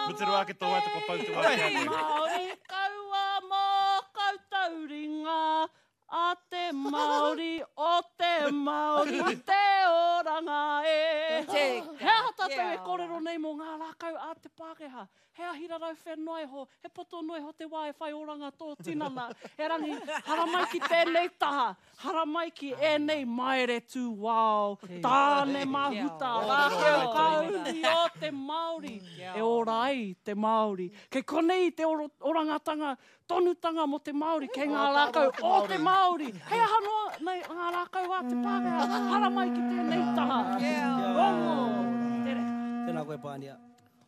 Mutu rawa ake tō waiata kua pau te wā ki a koe. Māori kaua mō koutou ringa A te Māori, o te Māori, te oranga e. He aha tātou e kōrero nei mō ngā rākau a te Pākehā? He ahi rarauwhe noa iho, he poto noa iho te wā e whai oranga tō tinana. Erangi, haramai ki tēnei taha, haramai ki ēnei maere tūwao, tāne mahuta, rākau kāuri o te Māori, e ora ai te Māori. Kei konei te orangatanga tonutanga mō te Māori, kei ngā rākau o te Māori. Hei aha noa nei ngā rākau a te Pākehā, haramai ki tēnei taha. Rongo! Te reka. Tēnā koe Pānia.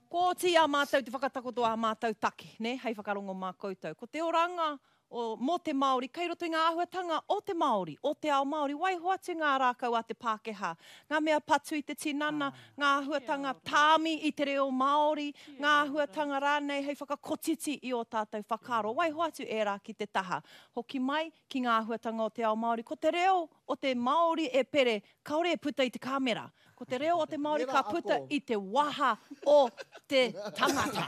Kua oti i a mātou te whakatakoto ā mātou take, nē, hei whakarongo mā koutou. Ko te oranga o, mō te Māori, kei roto i ngā āhuatanga o te Māori, o te ao Māori. Waiho atu ngā rākau a te Pākehā, ngā mea patu i te tinana, ngā āhuatanga tāmi i te reo Māori, ngā āhuatanga rānei hei whakakotiti i ō tātou whakaaro. Waiho atu ērā ki te taha. Hoki mai ki ngā āhuatanga o te ao Māori. Ko te reo o te Māori e pere, kāore e puta i te kāmera. Ko te reo o te Māori ka puta i te waha o te tangata.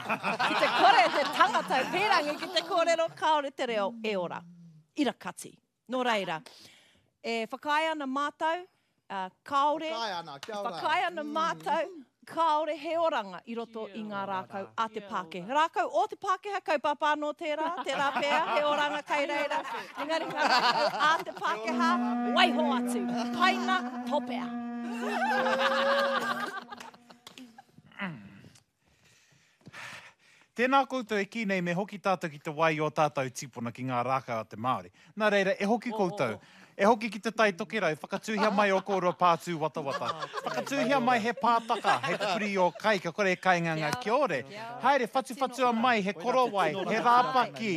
Ki te kore te tangata e pīrangi ki te kōrero, kāore te reo e ora. Ira kati. Nō reira, e whakaae ana mātou, kāore, Whakaae ana, kia ora. Whakaae ana mātou, kāore he oranga i roto i ngā rākau a te Pākehā. Rākau o te Pākehā, kaupapa anō tērā, tērā pea, he oranga kai reira. Engari ngā rākau a te Pākehā, waiho atu. Paina, topea. Tēnā koutou e kī nei me hoki tātou ki te wai i ō tātou tīpuna ki ngā rākau a te Māori. Nā reira, e hoki koutou. E hoki ki te Tai Tokerau, whakatūhia mai ō kōrua pā tūwatawata. Whakatūhia mai he pātaka hei pupuri i ō kai kia kore e kainga ngā kiore. Haere, whatuwhatua mai he korowai, he rāpaki,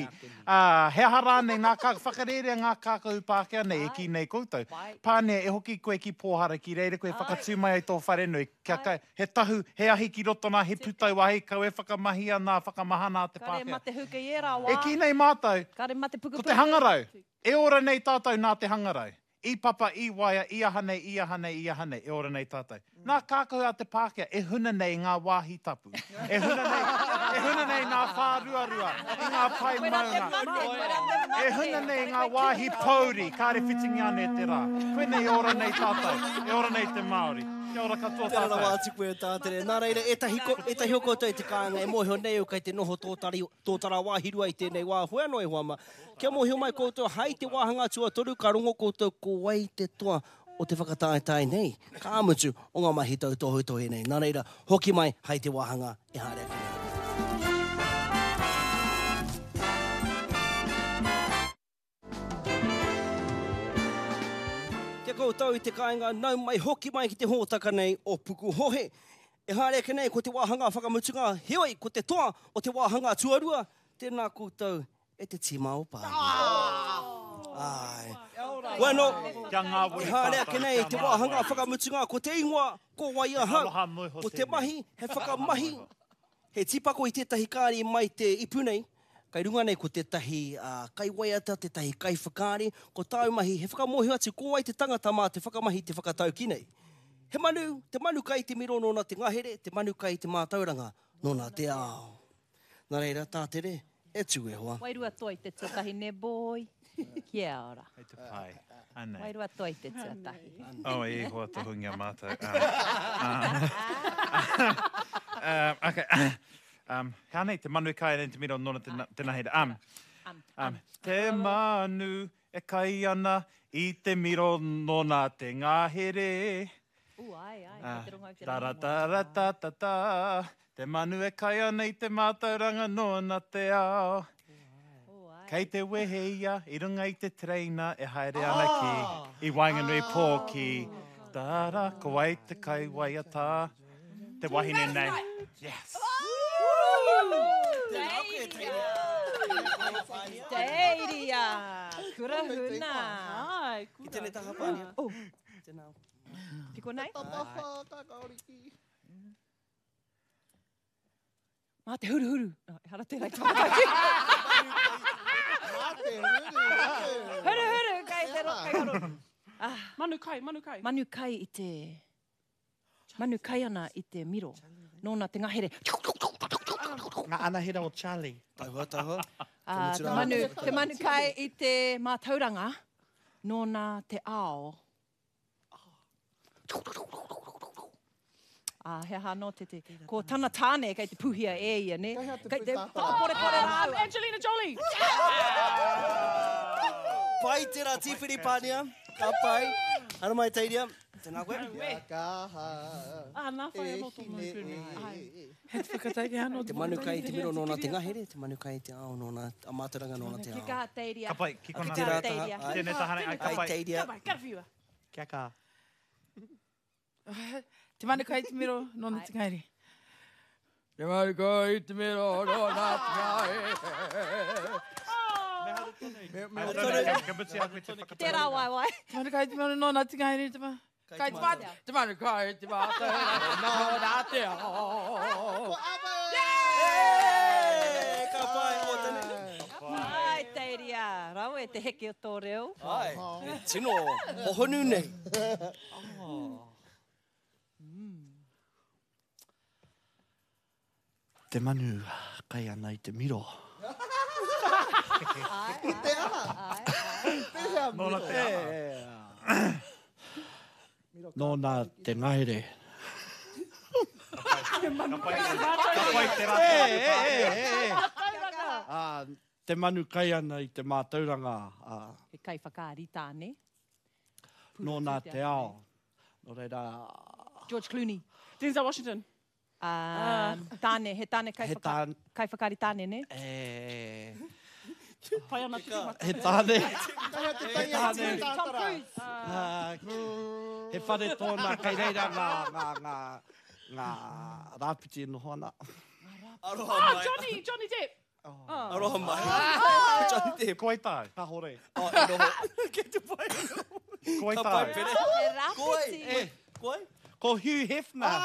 ā, he aha rānei ngā kā, whakarērea ngā kākahu Pākehā nei e kī nei koutou. Pānia, e hoki koe ki Pōhara, ki reira koe whakatū mai ai tō wharenui, kia kai, he tahu, he ahi ki roto nā, he putau ahi, kau e whakamahia nā, whakamahana a te Kare Pākehā. mate huka i ērā wā. E kī nei mātou, Kare mate ko te pukupuku. hangarau, e ora nei tātou nā te hangarau. I papa, i waea, i aha nei, i aha nei, i aha nei, e ora nei tātou. Nā kākahu a te Pākehā e huna nei i ngā wāhi tapu, e huna nei, e huna nei ngā whāruarua, i ngā pae maunga, e huna nei i ngā wāhi pōuri, kāre whitingia ana e te rā. Koinei e ora nei tātou, e ora nei te Māori. Kia ora katoa Tēnā tātou. rawa atu koe e Tātere. Nā reira, ētahi, ētahi o koutou i te kāinga e mōhio nei au kei te noho tōtari, tōtara wāhirua i tēnei wā, hoi anō e hoa mā. Kia mōhio mai koutou, hai te wāhanga tuatoru ka rongo koutou ko wai te toa o te whakataetae nei, ka mutu o ngā mahi tautohetohe nei. Nā reira, hoki mai hai te wāhanga e haere ake nei. Kia koutou i te kāinga, nau mai hoki mai ki te hōtaka nei o Pukuhohe. E haere ake nei ko te wāhanga whakamutunga, heoi ko te toa o te wāhanga tuarua, tēnā koutou e te tīma o Pānia. Āe. Bueno, Kia ngāwari e haere ake tātou, nei kia te wāhanga ngāwari. whakamutunga, ko te ingoa, ko wai He ahau. aroha noa iho Ko te tēnei. mahi, he He aroha noa whakamahi, iho. he tīpako i tētahi kāri mai te ipu nei, kai runga nei ko tētahi kaiwaiata, tētahi kaiwhakaari, ko tāu mahi, he whakamōhio atu ko wai te tangata mā te whakamahi te whakataukī nei. He manu, te manu kai te miro nōna te ngahere, te manu kai te mātauranga nōna te ao. Nā reira, Tātere, e tū e hoa. Wairua toi te tuatahi ne boy. Kia ora. Hei te pai. Anei. Wairua toi te tuatahi. Oh, e hoa tohungia mātou. Um, okay. Um, he anei te manu kai ana i te miro nona te, te nahere. Um, um, te manu e kai ana i te miro nona te ngahere. Ooh, ai, ai, kei te rongo au te Ta ra rangi ta ra ta ta ta, te manu e kai ana i te mātauranga nōna te ao. Kei te wehe ia i runga i te tereina e haere ana ki, i waenganui pō ki, ta ra, ko wai te kaiwaiata, te wahine nei. Yes! Tēnā koe, Teiria. Teiria! Kura huna! Ai, Ki tēnei taha pānia. Oh. Tēnā. Ki konei? Mā te huruhuru. Oh, ehara tērā i te whakataukī. Mā te huruhuru. Huruhuru, kei te ro, kei ro. Ah. Manu kai, manu kai. Manu kai i te... Manu kai ana i te miro. Nōna te ngahere. Ngā anahera o Charlie. Tauhua, tauhua. Ā, te manu, te manu kai i te mātauranga, nōna te ao. Ā, he aha anō te te, ko tana tāne kei te puhia e ia, nē? Kei hea te Kei te pūtātara? whakaporepoре rāua. Angelina Jolie! Pai tērā tīwhiri Pānia. Ka pai. Haere mai Teiria. Tēnā koe. Kia kaha. Ā, nā whai E anō tō hine mau pū. e. He te whakatairite anō Te manu kai te miro nōna te ngahere, te manu kai te ao nōna, a mātauranga nōna te Kia ao. kaha Teiria. Ka pai, ki Ki kona. tērā taha. Teiria. Ai, Tēnei taha nei, ai, ka ai pai. Teiria. Ka pai, karawhiua. Kia kaha. Te manu kai te miro nōna te ngahere. Te manu kai te miro nōna te ngahere. Haere tonu, Ka mutu i a koe te whakatairite. Tērā waewae. Te manu kai te miro nōna te ngahere. Te manu kai te mate. Te manu kai te mātauranga nōna te ao. Ko Ava! Hey, ka pai, o tēnei. Ai, Teiria, rawe te heke o tō reo. Ai, he tino hohonu nei. Te manu kai ana i te miro. Te aha? Pēhea miro? Nōna te aha. Nōna te ngahere. Ka pai, ka pai te rā. Ā, te manu kai ana i te mātauranga, ā, He kaiwhakaari tāne. nōna te ao. Nō reira, George Clooney. Denzel Washington. Um, tāne, he tāne he kaiwhaka, tāne, kaiwhakaari tāne, ne? e, Pai ana te mata. he tāne, Kei hea te tangi a te Tom pūtātara? Cruise. ā, he whare tōna kei reira ngā, ngā, ngā, ngā rāpiti e noho ana. Aroha Ah, mai. Johnny, Johnny Depp. Aroha mai. Johnny Depp. Ko wai tāu? Kahore. Oh, e noho. Kei te pai. Ko wai Ka pai, tāu? Pere. He Ko wai? rāpiti. Ko wai? Ko Hugh Hefner.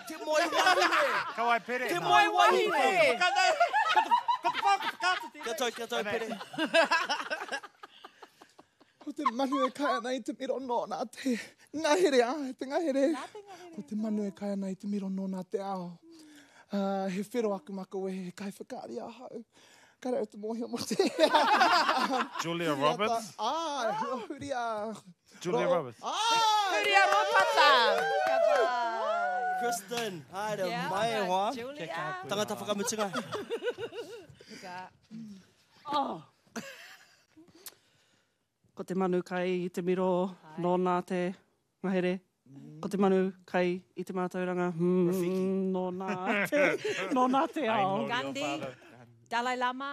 Te moe wahine. Ka wai pere. Te moe wahine. Ko te whaka whakaata tēnei. Kia tau, kia tau, Pere. Ko te manu e kai ana i te miro nōna te ngahere, ā, te ngahere. Ko te manu e kai ana i te miro nōna te ao. Uh, he whero aku makawe, he kaiwhakaari ahau. Kare au te mōhio mō te. Julia Roberts. Ā, Huria. Julia Roberts. Ā! Huria Ropata. Kristen, haere Kia mai e ora, hoa. Julia. Tangata whakamutunga. Oh. Ko te manu kai i te miro, nōna te ngahere. Ko te manu kai i te mātauranga, nōna te, nōna te ao. Gandhi. Dalai Lama.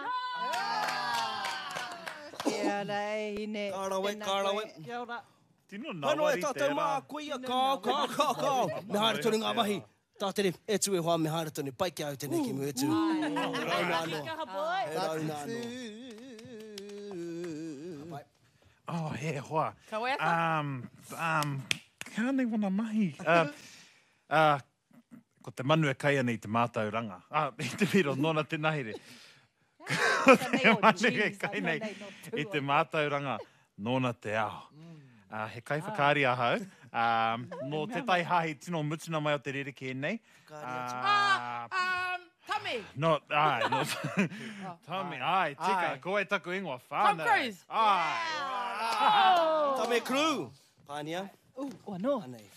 Kia ora, e hine. Ka rawe, Tēnā ka rawe. koe. Kia ora. Tino Hano e nawari tātou mā, tērā. koia, kao, kao, kao, kao. Me haere tonu ngā mahi. Tātere, e tū e hoa, me haere tonu. Pai ki au tēnei ki mua e tū. He rauna anō. Kaha boy. He rauna anō. Ka pai. Oh, he hoa. Ka waiata? Um, ka nei wana mahi. Uh, ko te manu e kai ana i te mātauranga. Ah, i te miro, nōna te nahere. Ko te manu e kai nei i te mātauranga, nōna te ao. Uh, he kaiwhakaari ahau. Um, nō te tai hahi tino mutuna mai o te rerekē nei. Ah, Tami. No, ai, no. Tommy, ai, tika, Ai. ko wai taku ingoa whānau. Tom Cruise. Ai. Tame Crew. Pānia. Ooh, o anō. Anei.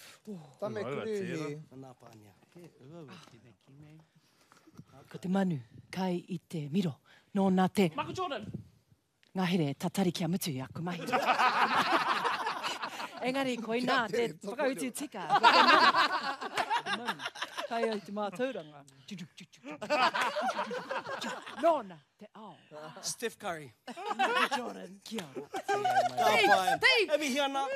Tame Uaua, Kruhi. tērā. Anā Pānia. Ko te manu kai i te miro. Nōna te Michael Jordan. ngahere tatari kia mutu i aku mahi. Engari, koinā te whakautu tika. Ko te manu, te manu, kai ai te mātauranga. Nōna te ao. Steph Curry. Michael Jordan, kia ora. Ka pai. E mihi ana.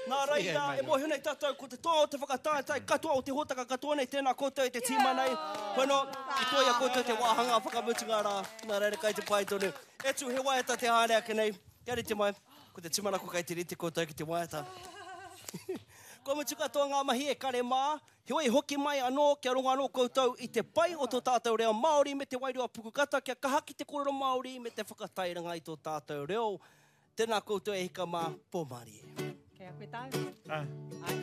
Nā reira, e mōhio nei tātou, ko te toa o te whakataetae katoa o te hōtaka katoa nei, tēnā koutou e te tīma nei. Hono, i toia koutou te wāhanga whakamutunga rā. Nā reira, kai te pai tonu. E tū, he waiata te haere ake nei. Kia rite mai, ko te tūmanako kai te rite koutou ki te waiata. Kua mutu katoa ngā mahi e kare mā, heoi hoki mai anō kia rongo anō koutou i te pai o tō tātou reo Māori me te wairua pukukata kia kaha ki te kōrero Māori me te whakatairanga i tō tātou reo. Tēnā koutou e hika mā, pō mārie. Kei a koe tāu. Ai. Ai.